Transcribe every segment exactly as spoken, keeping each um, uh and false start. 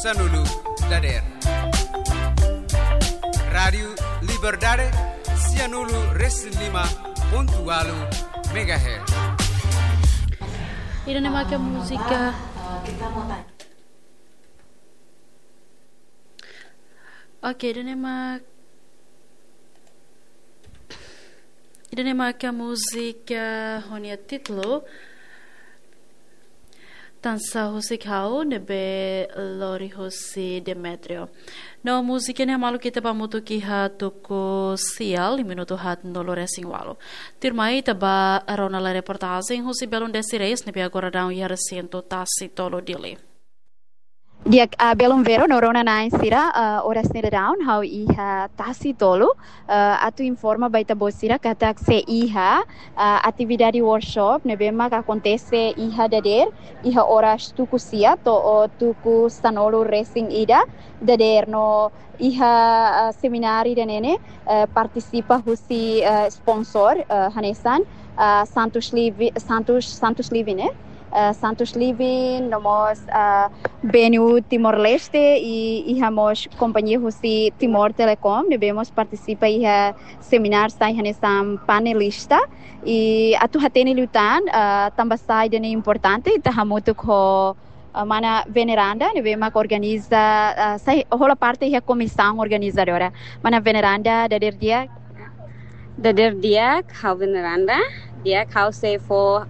Sanulu dadeer. Rádiu Liberdade, sianulu resin lima pontu ualu megahertz. Ida-ne'e mak múzika. Oke, ida-ne'e mak, ida-ne'e mak múzika ho nia títulu Tansá Husik Ha'u ne'ebé lori husi Demetrio. No múzika ne'e hamaluk ita ba hamutuk iha tuku sia, minutu haatnulu resin ualu. Tuirmai ita ba rona lai reportajen husi belun Desi Reis ne'ebé agora daudaun iha resintu Tasi Tolu Dili. Di'ak, ah, belun Vero no rona-na'in sira, ah, oras ne'e daudaun ha'u iha Tasi Tolu, ah, atu informa ba ita-boot sira katak sei iha, ah, atividade workshop ne'ebé mak akontese iha dadeer, iha oras tuku sia to'o tuku sanulu resin ida dadeer no iha, ah, semináriu ida-ne'e, eh, partisipa husi, eh, sponsor, eh, hanesan, ah, Santos Livi-, Santos, Santos Living, eh? Eh, Santos Living, no mós, ah, B N U Timor-Leste i, iha mós kompañia husi Timor Telecom, ne'ebé mós partisipa iha semináriu sai hanesan panelista. I atu hatene liután, ah, tanba sá ida-ne'e importante, ita hamutuk ho, ah, mana Veneranda, ne'ebé mak organiza, ah, sai hola parte iha komisaun organizadora. Mana Veneranda, dadeer di'ak. Dadeer di'ak, ha'u Veneranda. Di'ak, ha'u sei fó,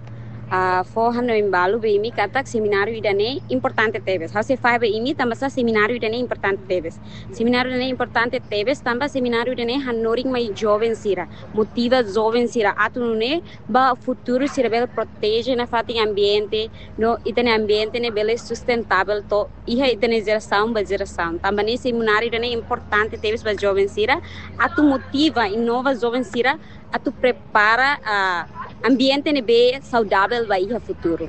ah, fó hanoin balu ba imi katak semináriu ida-ne'e importante tebes. Ha'u sei fahe ba imi tanba sá semináriu ida-ne'e importante tebes. Semináriu ida-ne'e importante tebes, tanba semináriu ida-ne'e hanorin mai joven sira, motiva joven sira atu nune'e ba futuru sira bele proteje nafatin ambiente, no ita-nia ambiente ne'e bele sustentável to'o iha ita-nia jerasaun ba jerasaun. Tanba ne'e semináriu ida-ne'e importante tebes ba joven sira, atu motiva, inova joven sira, atu prepara, ah, ambiente ne'ebé saudável ba iha futuru.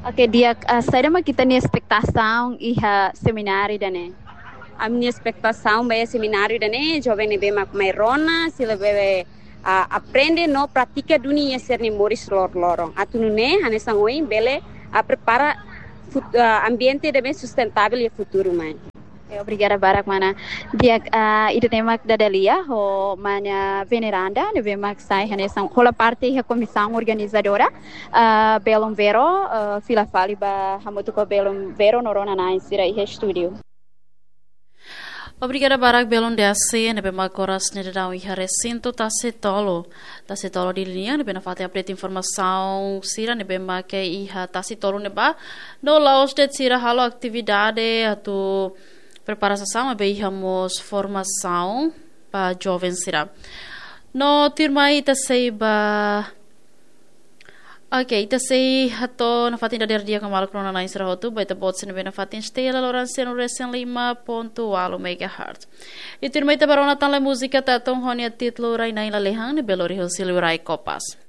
Oke, di'ak, ah, saida mak ita-nia espetasaun iha semináriu ida-ne'e? Ami-nia espetasaun ba iha semináriu ida-ne'e, joven ne'ebé mak mai rona, sira bele, ah, aprende no pratika duni iha sira-nia moris loroloron. Atu nune'e, hanesan ohin, bele, ah, prepara fut-, ah, ambiente ne'ebé sustentável iha futuru mai. Eh, obrigada barak, mana. Di'ak, ah, ida-ne'e mak dada lia ho mana Veneranda, ne'ebé mak sai hanesan hola parte iha komisaun organizadora, ah, belun Vero, ah, fila fali ba hamutuk ho belun Vero no rona-na'in sira iha estúdiu. Obrigada barak belun Desi, ne'ebé mak oras ne'e daudaun iha resintu Tasi Tolu. Tasi Tolu Dili nian, ne'ebé nafatin update informasaun sira ne'ebé mak iha Tasi Tolu ne'ebá. No la'ós de'it sira halo atividade atu prepara sasán, maibé iha mós formasaun ba joven sira. No tuirmai ita sei ba, oke, ita sei hato'o nafatin dadeer di'ak ho maluk rona-na'in sira hotu, ba ita-boot sira ne'ebé nafatin esteia laloran sianulu resin lima pontu ualu megahertz. I tuirmai ita ba rona tan lai múzika Tatun ho nia títulu Rai-Na'in Lalehan ne'ebé lori husi Liurai Kopas.